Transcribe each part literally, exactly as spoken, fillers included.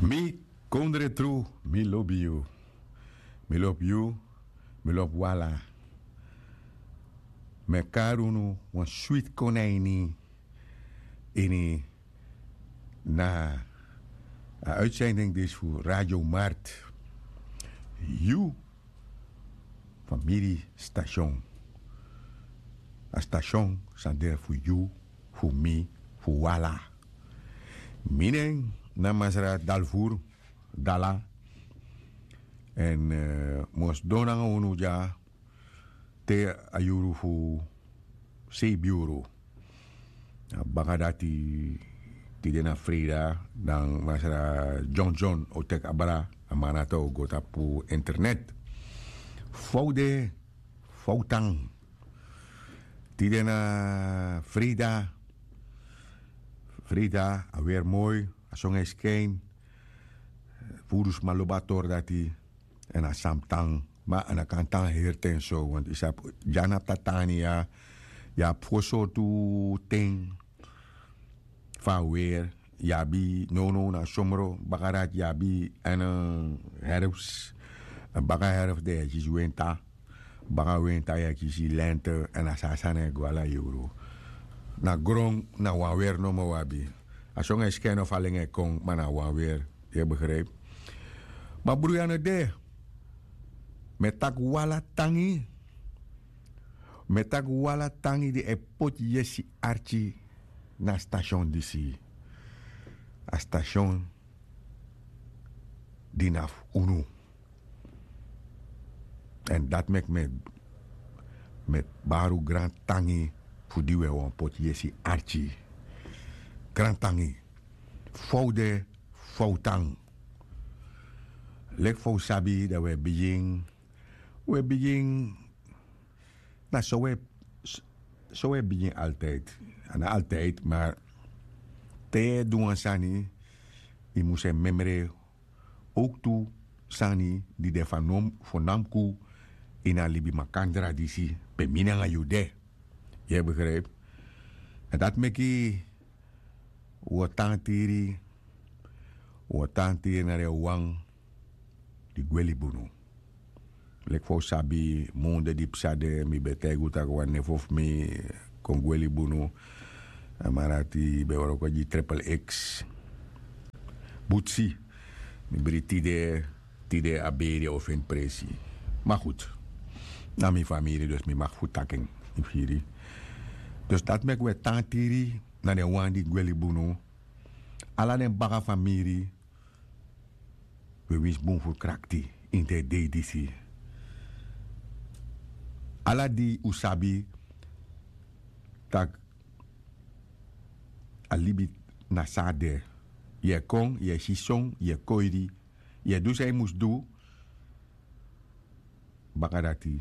Mi kondre tru, mi lobi yu. Mi lobi yu, mi lobi wala. Mi e kari unu wan switi kon na ini, ini na a uitzending disi fu Radio Mart. Yu famiri station. A station san de fu yu, fu mi, fu wala. Mi nen na Masra Dalfur Dala. Èn mi o sidon nanga unu dya te a yuru fu sei yuru. Baka dati, tide na Freida, dan Masra Johnson o teki abra, a man dati o go tapu internet. Fa u de, fa u tan. Tide na Freida. Freida, a weri moi, a songu e skin. Fu unu sma lobi a tori dati. Èn a san mus tan, ma a no kan tan heri ten so, want yu sabi, dya na Tatania, yu abi fu sortu ten fu a weri. Yu abi nownow na somro, baka dati yu abi èn herfs. Baka herfs dan yu e kisi winta. Baka winta yu e kisi lente, èn a so a sani e go ala yuru. Na gron, na wan weri nomo wi abi. A songu e skin of a lengi e kon, ma na wan weri. Yu e begrijp? Ma bruya no de. Mi e taki wala tangi. Mi e taki wala tangi di e poti yesi arki na station disi. A station di na fu unu. Èn dati meki mi e, mi e bari un grantangi fu di un e wani poti yesi arki. Grantangi. Fa u de, fa u tan. Leki fa u sabi dan un e bigin, un e bigin, na so un e, so un e bigin altijd. A no altijd, ma te yu e du wan sani, yu mus e memre owktu sani di de fanowdu, fanowdu ini a libi makandra disi pe mi nanga yu de. Yu e begrijp? Èn dati meki un o tan tiri, un o tan tiri na den wan di gwe libi unu. Leki fa un sabi, mun de di psa de, mi ben taigi un taki wan nefo fu mi kon gwe libi unu. A man dati ben wroko gi Triple X. Butsi, mi bribi tide, tide a beri o feni presi. Ma goed, na mi famiri, dus mi mag fu taki en, yu firi. Dus dati meki un e tan tiri na den wan di gwe libi unu. Ala den baka famiri, un e winsi bun fu krakti ini den dei disi. Ala di un sabi tak' a libi na san a de. Yu e kon, yu e si son, yu e koiri, yu e du san yu mus du. Baka dati,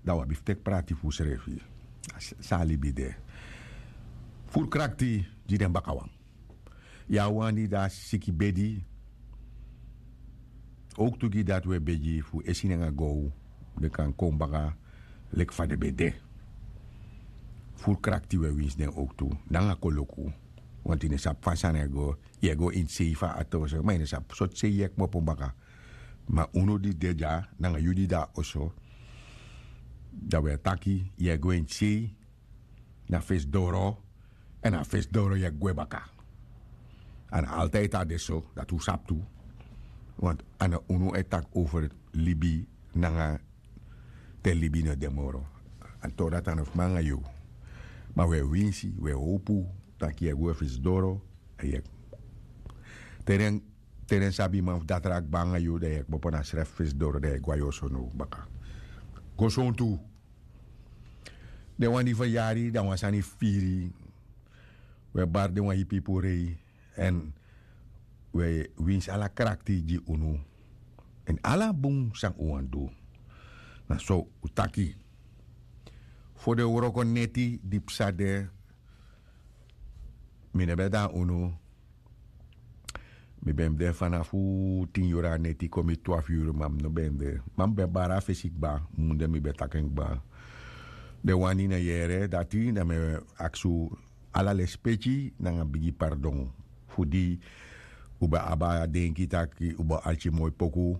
dan un abi fu teki prati fu unsrefi. San a libi de. Furu krakti gi den bakawan. Yu a wan di de a siki bedi. Owktu gi dati un e begi fu esi nanga gow den kan kon baka leki fa den ben de. Furu krakti un e winsi den owktu nanga koloku. Wanti yu no sabi fa sani e go. Yu e go ini sei fu a ati oso, ma yu no sabi sortu sei yu e kmopo baka. Ma unu di de dya nanga yu di de na oso, dan un e taki yu e go ini sei, na fesi doro, èn na fesi doro yu e gwe baka. A no altijd a de so, dati un sabi tu. Want a no unu e taki over libi nanga te libi no de moro. A tori dati a no fu mi nanga yu. Ma un e winsi, un e howpu tak' yu e gwe fesi doro. Te den, te den sabi man fu datra kba nanga yu, dan yu e kmopo na srefi fesi doro, dan yu e gwe na yu oso now baka. Go sontu. Den wan di feryari, dan wan sani firi. Un e bari den wan ipi puru. Èn un e winsi ala krakti gi unu. Èn ala bun san un wani du. Na so un taki. Fu den wroko neti di psa de, mi no ben de na unu. Mi ben de fanafu tin yuru a neti kon mi twafu yuru, ma mi no ben de. Ma mi ben bari a fesi kba, mun de mi ben taki en kba. Den wan di no yere dati, dan mi e aksi un ala lespeki nanga bigi pardon. Fu di Un ben abi a denki taki un bo arki moi poku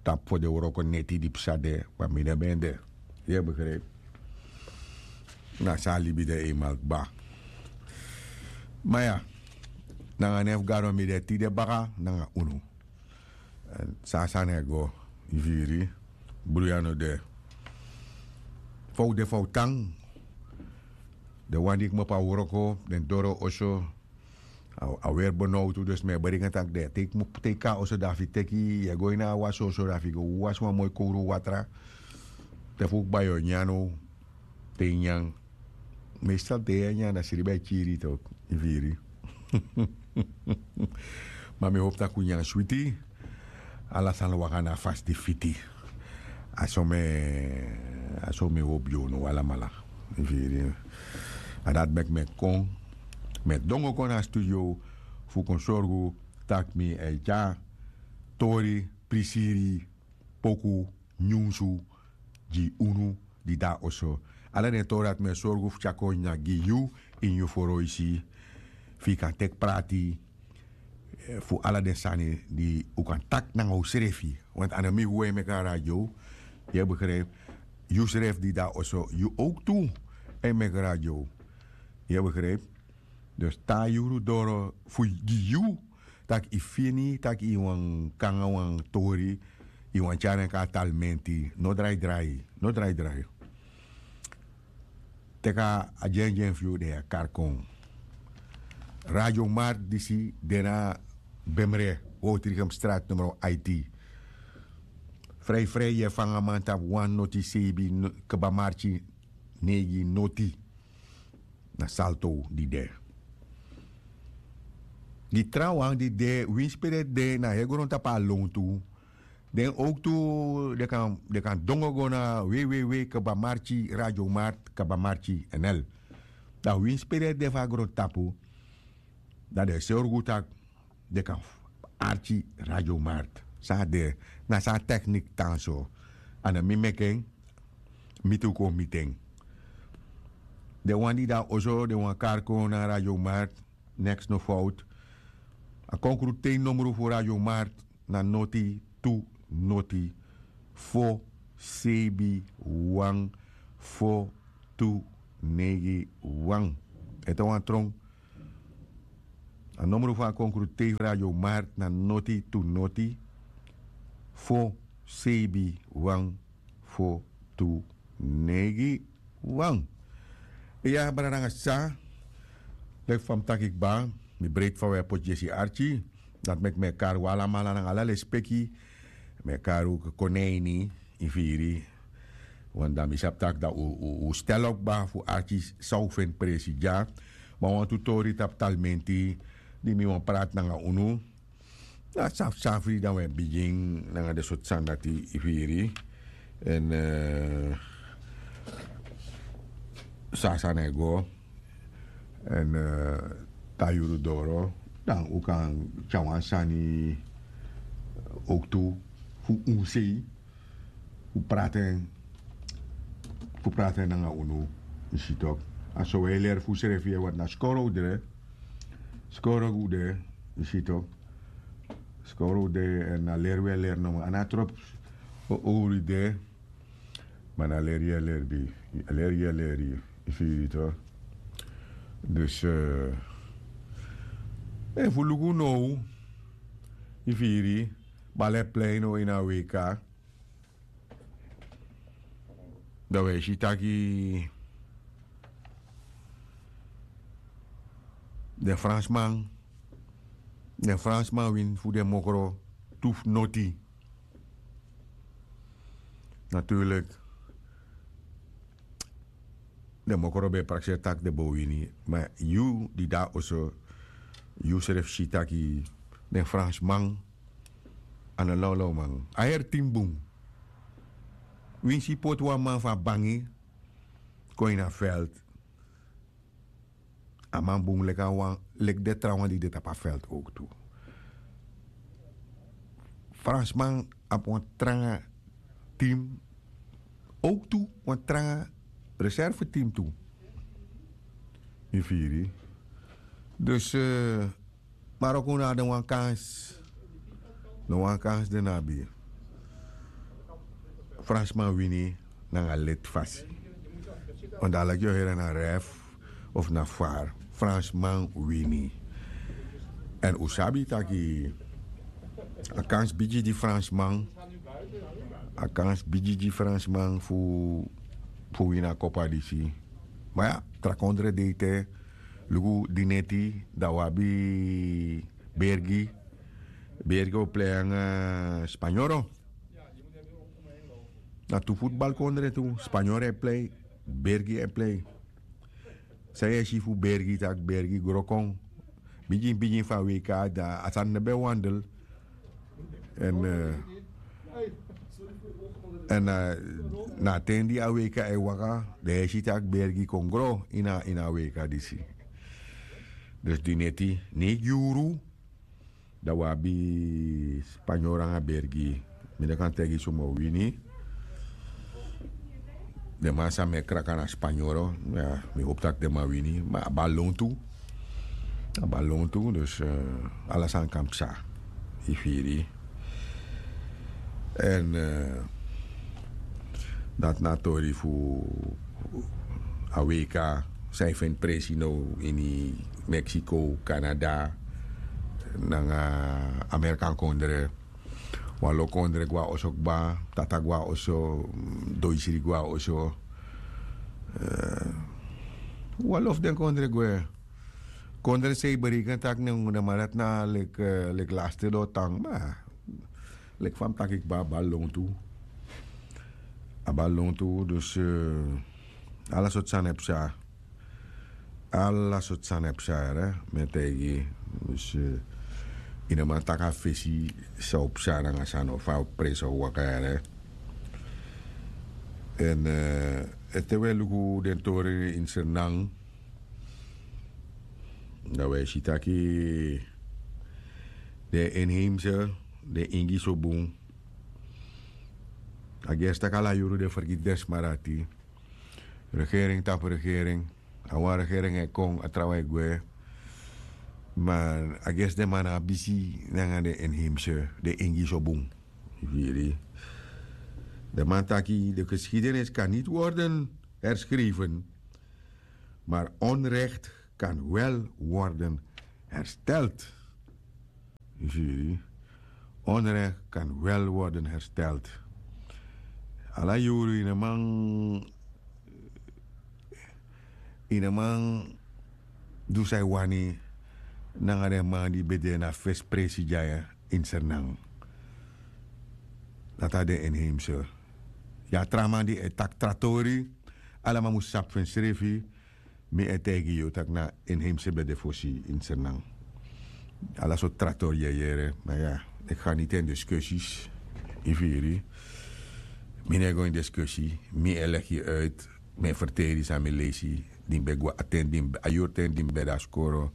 tapu fo den wroko neti di psa de, ma mi no ben de. Yu e begripi? Na so a libi de eimal kba. Ma ya, nanga nen fu gado mi de tide baka nanga unu. Èn so a sani e go. Yu firi? Bruya no de. Fa un de, fa un tan. Den wan di kmopo a wroko, den doro oso, a weri benowtu. Dus mi e bari nanga taki den te yu kmopo, te yu kon na oso, dan fu yu teki, yu e go ini a wasi oso, dan fu yu go wasi wan moi kowru watra. Te fu kba yu o nyan now. Te yu nyan, meestal te yu e nyan, dan sribi e kiri yu toki. Yu firi? Ma mi hopu tak' un nyan switi. Ala sani waka na a fasi di fiti. A so mi e, a so mi e hopu gi unu alamala. Yu firi? A dati meki mi e kon, mi e dongo kon na a studio fu kon sorgu tak' mi e tyari tori, prisiri, poku, nyunsu gi unu di de na oso. Ala den tori dati mi e sorgu fu tyari kon nyan gi yu ini yu foroisi, fu yu kan teki prati, eh, fu ala den sani di un kan taki nanga unsrefi. Want a no mi fu e meki a radio. Yu e begripi? Yusrefi di de na oso, yu owktu e meki radio. Yu e begripi? Dus te a yuru doro fu gi yu, tak' yu fini tak' yu wani kon nanga wan tori, yu wani tyari en kon na Talmenti, no drai drai, no drai drai. Teki a dyendyen fu yu, dan yu e kari kon. Radio Markt disi de na Bemre, Woudrichemstraat numero aiti. Frei frei yu e fanga man tapu wan noti seibin, kba marki neigi noti. Na Salto di de. Gi trawan di de, winsi pe den de na heri grontapu na lontu, den owktu den kan, den kan dongo go na www kba marki radio markt kba marki nl. Dan winsi pe den de fu a grontapu, dan den e sorgu tak' den kan arki Radio Markt. San a de, na san a teknik tan so. A no mi meki en, mi tu kon miti en. Den wan di de na oso, den wani kari kon na Radio Markt, neks no fowtu. A konkruti nomru fu Radio Markt na noti tu noti fo seibin wan fo tu neigi wan. Ete wan tron. A nomru fu a konkruti fu Radio Markt na noti tu noti fo seibin wan fo tu neigi wan. Iya, brada nanga sisa, leki fa mi taki kba, mi breiti fa wi e poti yesi arki. Dati meki mi e kari un alamala nanga ala lespeki. Mi e kari un kon na ini, yu firi. Want dan mi sabi tak' dan un, un, un stel op kba fu arki san un feni presi dya. Ma wantu tori tapu Talmenti di mi wani prati nanga unu. Na safsafri dan wi e bigin nanga den sortu sani dati, yu firi. Èn, eh, so a sani e go. Èn, eh, te a yuru doro, dan un kan tyari wan sani owktu fu unsei, fu prati en, fu prati en nanga unu, yu si tok. A so wi e leri fu unsrefi, want na skoro un de, skoro un de, yu si tok. Skoro un de, èn a leri wi e leri nomo. A no tropu owru de, ma na leri yu e leri, leri yu e leri, yu firi tok. Dus, eh, efu un luku now, yu firi, bal e plei now ini a weika. Dan wi e si taki den Fransman, den Fransman wini fu den mokro tu fu noti. Natuurlijk, den mokro ben e prakseri tak' den bo wini. Ma yu di de na oso, yu srefi si taki den Fransman a no lawlaw man. A heri team bun. Winsi yu poti wan man fu a bangi kon ini a veld, a man bun leki a wan, leki den trawan di de tapu a veld owktu. Fransman abi wan tranga team, owktu wan tranga reserve team tu. Yu firi? Dus, eh, Maroko no abi den wan kans. No wan kans den abi. Fransman wini nanga leti fasi. Wan dala yu o heri na ref of na far. Fransman wini. Èn un sabi taki a kans bigi di fransman, a kans bigi di fransman fu fu wini a kopa disi. Ma ya, tra kondre de ete. Luku dineti, dan un abi Bergi. Bergi o plei nanga Spanyoro. Na tu futbalkondre tu, Spanyoro e plei, Bergi e plei. San yu e si fu Bergi, tak' Bergi gro kon. Bigin bigin fu a weika, dan a sani no ben wandel. Èn èn na a ten di a weika e waka, dan yu e si tak' Bergi kon gro ini a weika disi. Dus dineti, neigi yuru, dan un abi Spanyoro nanga Bergi. Mi no kan taigi suma o wini. Den man san meki kraka na Spanyoro, mi hopu tak' den man wini. Ma a bal lontu. A bal lontu, dus ala sani kan psa. Yu firi. Èn dati na a tori fu a weika san yu feni presi now ini Mexico, Canada nanga Amerikan kondre. Wan lo kondre gwe na oso kba, tata gwe na oso, doisri gwe na oso. Wan lo fu den kondre gwe. Kondre san yu bereken tak' nen den man dati na leki lasti den o tan, ma leki fa mi taki kba, a bal lontu. A bal lontu, dus ala sortu sani e psa. Ala sortu sani e psa, mi e taigi. Dus yu no man taki a fesi san o psa nanga san no, fa a presi o waka. Èn te wi e luku den tori ini Sranan, dan wi e si taki den inheimse, den Ingi so bun. A gersi tak' ala yuru den fergiti den sma dati. Regering tapu regering. A wan regering e kon, a trawan e gwe. Ma a gersi den man no abi bisi nanga den inheimse, den Ingi so bun. Yu firi. Den man taki: de geschiedenis kan niet worden herschreven, maar onrecht kan wel worden hersteld. Yu firi. Onrecht kan wel worden hersteld. Ala yuru yu no man, yu no man du san yu wani nanga den man di ben de na fesi presi dya ini Sranan. Dati na den inheimse. Yu a tra man di e taki tra tori, ala man mus sabi fu ensrefi. Mi e taigi yu tak' na inheimse ben de fosi ini Sranan. Ala sortu tra tori yu e yere, ma ya, ik ga niet in discussies. Yu firi. Mi no e go ini discussie, mi e leg yu uit, mi e ferteri san mi leisi, di mi ben gwe a ten, di mi, a yuru ten di mi ben de na skoro.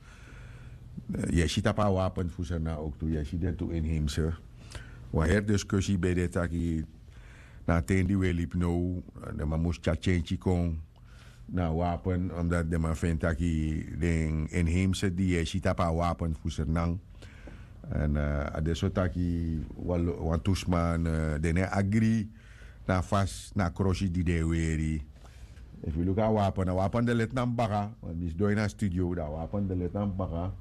Yu e si tapu a wapen fu Sranan ook tu, yu e si den tu inheimse. Wan heri discussie ben de taki na a ten di wi e libi now, den man mus tyari tyentyi kon na a wapen, omdat den man feni taki den inheimse di yu e si tapu a wapen fu Sranan. Èn a de so taki wan tu sma, den no e agri na a fasi, na a krosi di den e weri. Efu yu luku a wapen, a wapen de leti na mi baka, want mi sidon ini a studio, dan a wapen de leti na mi baka.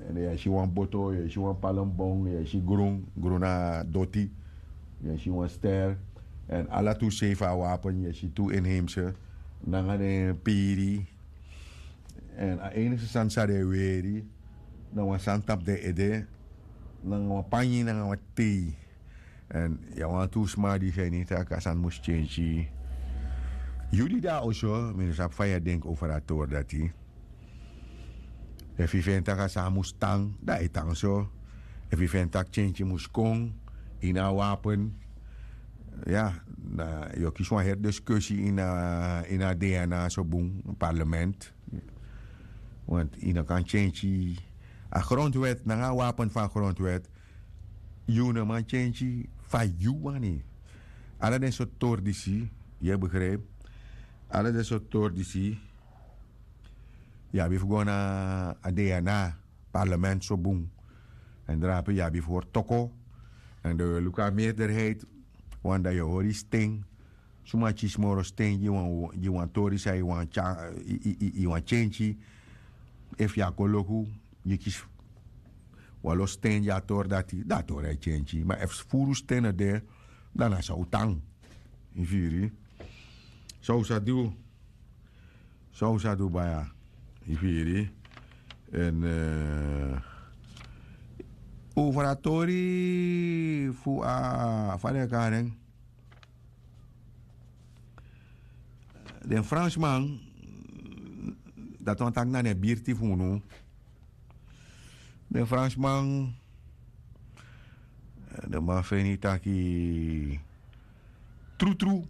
Èn yu e si wan boto, yu e si wan palmbon, yu e si grun, grun na doti, yu e si wan ster. Èn ala tu sei fu a wapen, yu e si tu inheimse nanga den piri. Èn a enigste sani san den e weri na wan sani tapu den ede, nanga wan panyi nanga wan tei. Èn yu a wantu sma di feni tak' a sani mus tyentyi. Yu di de na oso, mi no sabi fa yu e denki over a tori dati. Efu yu feni tak' a sani mus tan, dan a e tan so. Efu yu feni tak' tyentyi mus kon ini a wapen, ya, na yu o kisi wan heri discussie ini a, ini a DNA so bun, parlement. Want yu no kan tyentyi a grondwet nanga a wapen fu a grondwet. Yu no man tyentyi fa yu wani. Ala den sortu tori disi, yu e begrijp. Ala den sortu tori disi, yu abi fu go na a DNA. parlement so bun. Èn drape yu abi fu hori toko. Èn dan yu e luku a meerderheid. Wan dan yu e hori sten. Suma kisi moro sten gi wan gi wan tori san yu wani tyari yu wani tyentyi. Efu yu a koloku yu kisi wan lo sten gi a tori dati dan a tori a e tyentyi ma efu furu sten no de, dan na san un tan. Yu firi? San un sa du? San un sa du baya? Yu firi? Èn over a tori fu a fa den e kari en? Den fransman, dati wani taki na den birti fu unu. Den fransman, den man feni taki trutru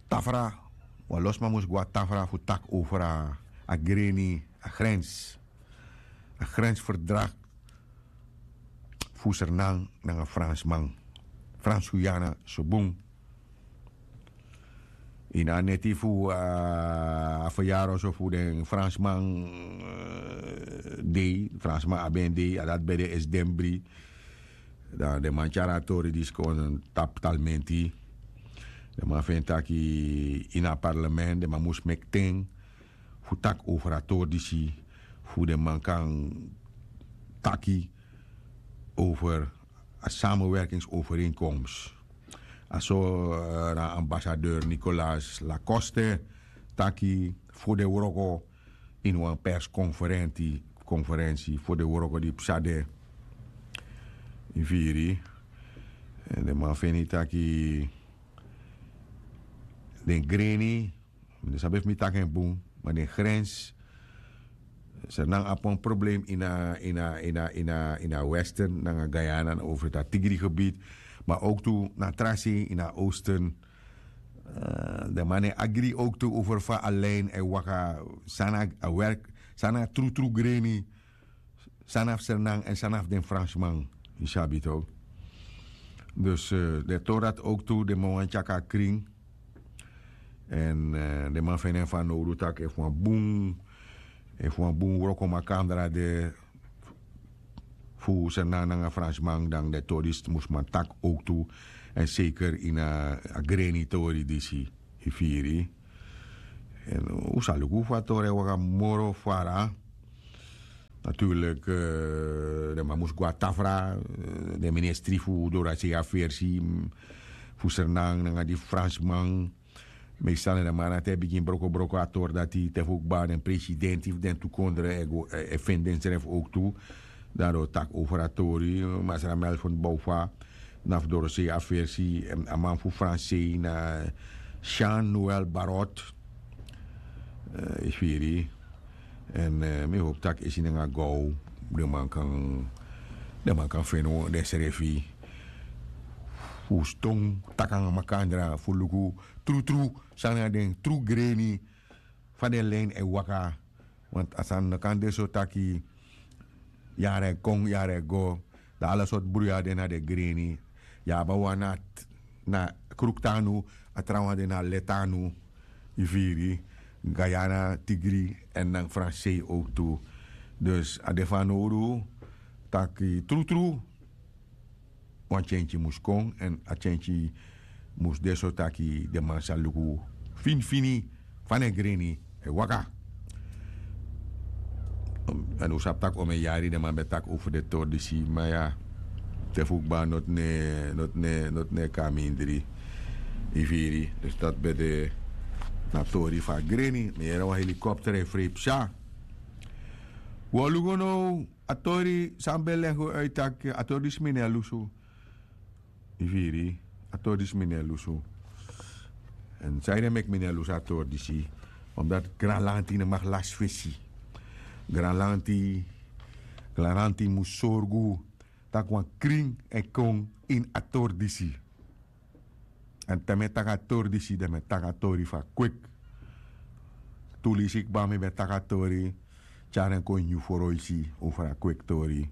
tafra, wan lo sma mus go na tafra fu taki over a greni, a grens, a grensverdrag fu sernan nanga fransman, frans-guyana, so bun. Ini a neti fu a feryari oso fu den fransman, dei fransman abi en dei a dati ben de esi den bri. Dan den man tyari a tori disi kon tapu talmenti. Den man feni taki ini a parlement den man mus meki ten fu taki over a tori disi, fu den man kan taki over a samenwerkingsovereenkomst. A so na ambassadeur Nicolas Lacoste taki fu den wroko ini wan perskonferensi, konferensi fu den wroko di psa de. Yu firi? Den man feni taki den greni, mi no sabi efu mi taki en bun, ma den grens, sernan abi wan problem ini a ini a ini a ini a ini a western nanga guyana na over dati tigri gebied, ma owk tu na tra sei ini a oosten. Den man e agri owk tu over fa a lin e waka, san na a werk, san na a trutru greni, san na fu sernan èn san na fu den fransman. Yu sabi tok? Dus den tori dati owk tu den man wani tyaki a krin. Èn den man feni en fanowdu tak' efu wan bun efu wan bun wrokomakandra de fu sernan nanga fransman dan den tori disi mus man taki owk tu. Èn seker ini a greni tori disi. Yu firi? Èn un sa luku fu a tori e waka moro fara. Naturlik, den man mus go na tafra, den ministri fu dorasei afersi fu sernan nanga di fransman. Meestal na den man dati e bigin brokobroko a tori dati te fu kba den presidenti fu den tu kondre e feni densrefi owk tu. Dan den o taki over a tori masra melfon bowfa, na fu dorosei afersi, a man fu fransei na jean noel barot. Yu firi? Èn mi hopi tak' esi nanga gow den man kan den man kan feni densrefi fu ston taki nanga makandra fu luku trutru san na den tru greni fa den lin e waka. Want a sani no kan de so taki yara e kon yara e go, dan ala sortu bruya de na den greni. Yu abi a wan na kruktu anu, a trawan de na leti anu. Yu firi? Guyana tigri èn nanga fransei owk tu. Dus a de fanowdu taki trutru wan tyentyi mus kon èn a tyentyi mus de so taki den man sa luku finifini fa den greni e waka. Èn un sabi tak' omen yari den man ben taki over den tori disi ma ya, te fu kba noti no e kon na mindri. Yu firi? Dus dati ben de na tori fu a greni mi yere wan helikopter e frei psa. Un o luku now a tori san mi ben legi un uit tak' a tori disi mi no e lusu. Yu firi? A tori disi mi no e lusu. Èn sanede meki mi no e lusu a tori disi? Omdati granlanti no mag lasi fesi. Granlanti granlanti mus sorgu tak' wan krin e kon ini a tori disi. Èn te mi e taki a tori disi dan mi e taki a tori fu a kweki. Tu lisi kba mi ben taki a tori tyari en kon ini yu foroisi over a kweki tori.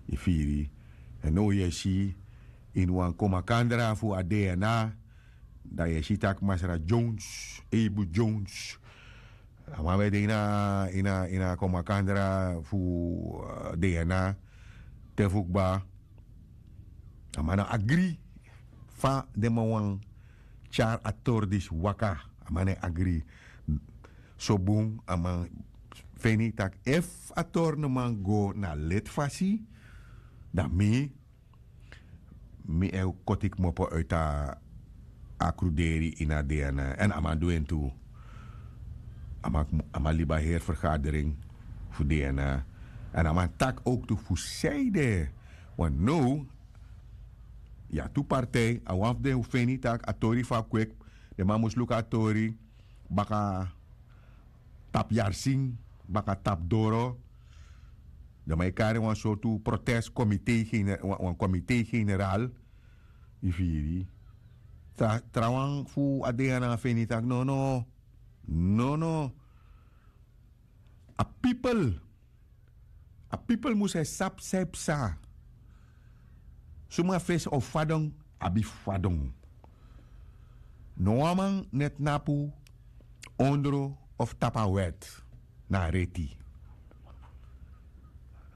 Yu firi? Èn now yu e si ini wan komakandra fu a dna, dan yu e si tak' masra jones, eibu jones, A man ben de ini a ini a ini a kon makandra fu dna te fu kba. A man no agri fa den man wani tyari a tori disi waka. A man no e agri. So bun a man feni tak' efu a tori no man go na leti fasi, dan mi mi e koti kmopo uiti a kruderi ini a dna èn a man du en tu. A man libi a heri fergadering fu dna. Èn a man taki owk tu fu san ede. Wan now yu abi tu partij a wan fu den wi feni tak' a tori fu a kwek den man mus luku a tori baka tapu yarsin baka tapu doro. Dan man e kari wan sortu protest komite wan komite general. Yu firi trawan fu a dna feni tak' nono nono. A pipel a pipel mus e sabi san e psa. Suma fesi o fadon abi fadon. No wan man no e tnapu ondro of tapu a wèt na a reti.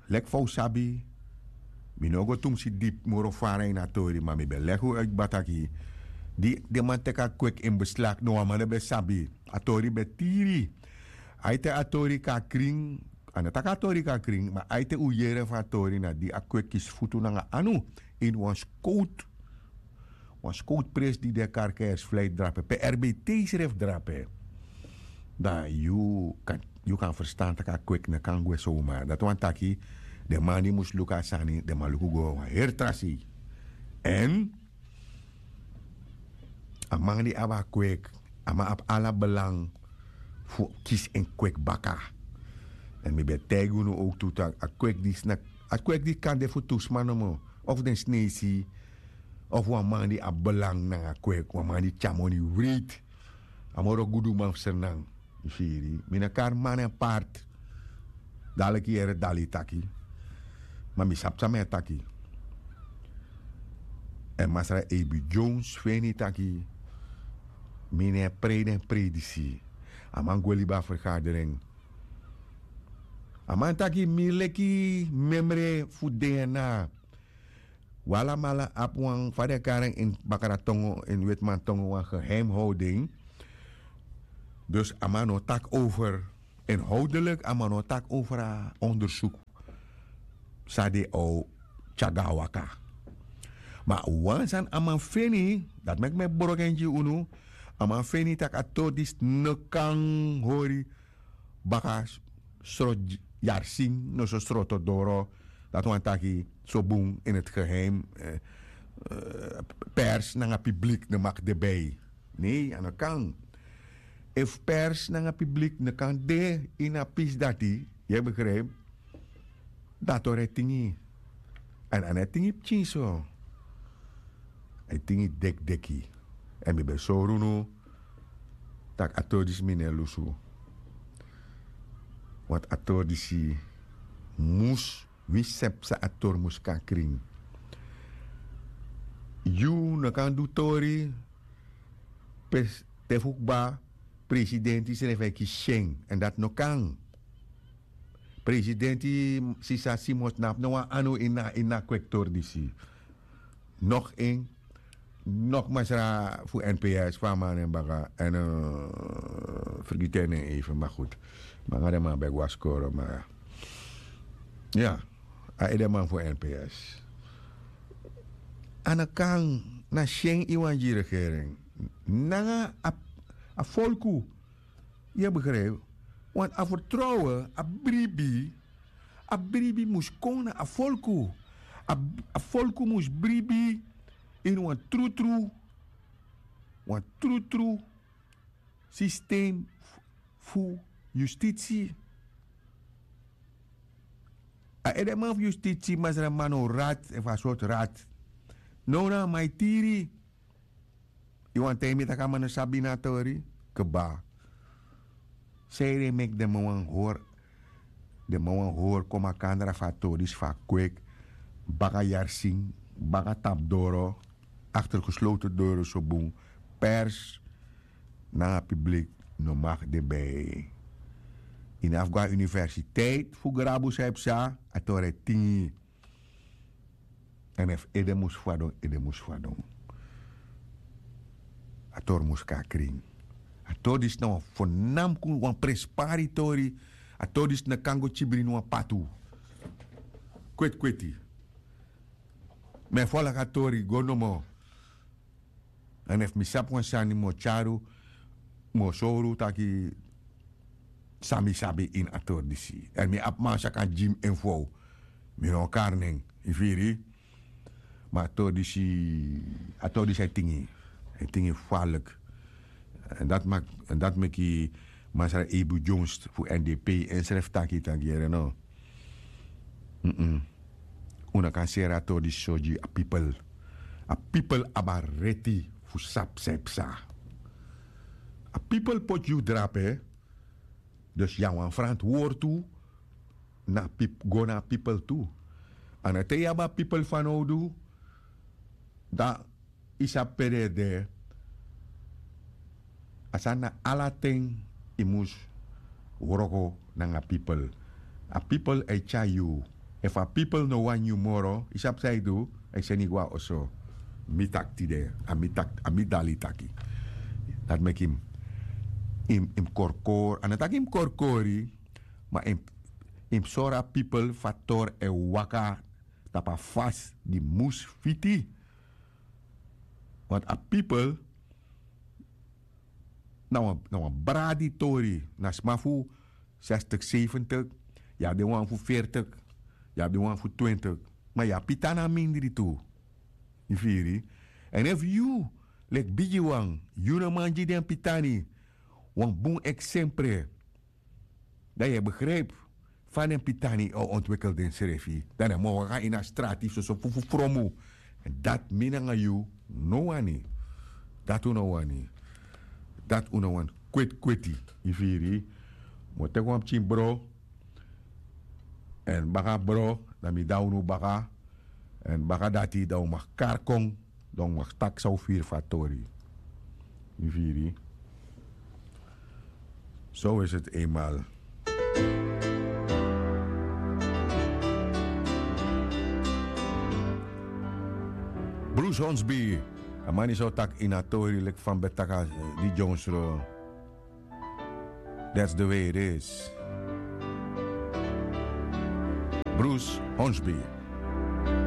Leki fa un sabi mi no o go tumsi dipi moro fara ini a tori ma mi ben legi un uiti kba taki di den man teki a kweki ini beslak no wan man no ben sabi. A tori ben tiri. Aite a tori kon na krin. A no taki a tori kon na krin ma aite un yere fu a tori na di a kweki kisi futu nanga anu ini wan skowtu. Wan skowtu presi di de karkers fleiti drape pe r b t srefi drape. Dan yu kan yu kan ferstan tak' a kweki no kan gwe sowma dati wani taki den man di mus luku a sani den man luku go wan heri tra sei. Èn a man di abi a kweki a man abi ala belang fu kisi en kweki baka. Èn mi ben taigi unu owktu tak' a kweki disi na a kweki disi kan de fu tu sma nomo of den sneisi of wan man di abi belang nanga kweki wan man di tyari moni wreiti. A moro guduman fu sernang. Yu firi mi no kari man en parti. Daliki yere dali taki ma mi sabi san mi e taki. Èn masra ebi jones feni taki mi no e prei den prei disi. A man gwe libi a fergaderen. A man taki mi leki memre fu dna. Wi alamala abi wan fa den e kari en ini bakra tongo ini wetiman tongo wan geheimhowding. Dus a man no taki over inhowdelik a man no taki over a ondersuku. San di a o tyari go na waka. Ma wan sani a man feni dati meki mi e broko en gi unu. A man feni tak' a tori disi no kan hori baka srot yarsin no so sroto doro. Dati wani taki so bun ini heti geheim. Pers nanga piblik no maki de bei. Nei a no kan. Efu pers nanga piblik no kan de ini a pisi dati yu e begripi. Dan a tori e tingi. Èn a no e tingi pikin so. A e tingi dekideki. Èn mi ben sori unu tak' a tori disi mi no e lusu. Want a tori disi mus wi sepsa a tori mus kan krin. Yu no kan du tori pe te fu kba presidenti srefi e kisi syen èn dati no kan. Presidenti sisa simon tnapu no wan anu ini a kweki tori disi. Nok en nok masra fu nps fu a man nen baka èn fergiti en nen eifen ma gudu. Manga den man ben go na skoro ma ya a edeman fu nps. A no kan na syen yu wani gi regering nanga a folku. Yu e begripi? Want a fertrowen a bribi a bribi mus kon na a folku. A folku mus bribi ini wan trutru wan trutru sistem fu yustitsi. A edeman fu yustitsi masra man no rat efu a sortu rat. Now na a man e tiri. Yu wani taigi mi tak' a man no sabi na a tori kba. San ede meki den man wani hori den man wani hori kon makandra fu a tori disi fu a kweki baka yarsin baka tapu doro akter gesloten doro so bun. Pers nanga piblik no maki de bei. Ini a fu go na universiteit fu grabu san yu psa, a tori e tingi. Èn efu ede mus fadon, ede mus fadon. A tori mus kon na krin. A tori disi na wan fonamku wan prenspari tori. A tori disi no kan go kibri ini wan patu. Kweti kweti. Mi e folgu a tori go nomo. Èn efu mi sabi wan sani mi o tyari unu, mi o sori unu taki san mi sabi ini a tori disi. Èn mi abi man san kan gi mi en fu ow. Mi no o kari nen, yu firi. Ma a tori disi, a tori disi e tingi. E tingi falek. Èn dati maki, èn dati meki masra Ebu Jones fu N D P ensrefi taki taki yere no. Un no kan seri a tori disi so gi a pipel. A pipel abi a reti fu sabi san e psa. A pipel poti yu drape. Dus yu na wan ferantwortu na pip go na a pipel tu. A no te yu abi a pipel fanowdu, dan yu sabi pe den e de. A sani na ala ten yu mus wroko nanga pipel. A pipel e tyari yu. Efu a pipel no wani yu moro, yu sabi san yu du? A e seni yu go na oso. Mi taki tide, a mi taki, a mi dali taki. Dati meki yu mus, yu mus korkori. A no taki yu mus korkori, ma yu mus, yu mus sori a pipel fu a tori e waka tapu a fasi di mus fiti. Want a pipel na wan, na wan bradi tori, na sma fu zestig, zeventig, yu abi den wan fu veertig, yu abi den wan fu twintig, ma yu abi pitani a mindri tu. Yu firi? Èn efu yu, leki bigiwan, yu no man gi den pitani wan bun eksempre, dan yu e begrijpi fa den pitani o ontwikkel densrefi. Dan den mu waka ini a strati soso fu, fu fromu. Dati mi nanga yu no wani. Dati un no wani. Dati un no wani. Kweti kweti. Yu firi? Mi o teki wan pikin bro. Èn baka bro, dan mi de na unu baka. Èn baka dati dan un mag kari kon. Dan un mag taki san un firi fu a tori. Yu firi? Zo is het eenmaal. Bruce Hornsby, a man disi o taki ini a tori leki fa mi ben taki, eh, di Jones ro. That's the way it is. Bruce Hornsby.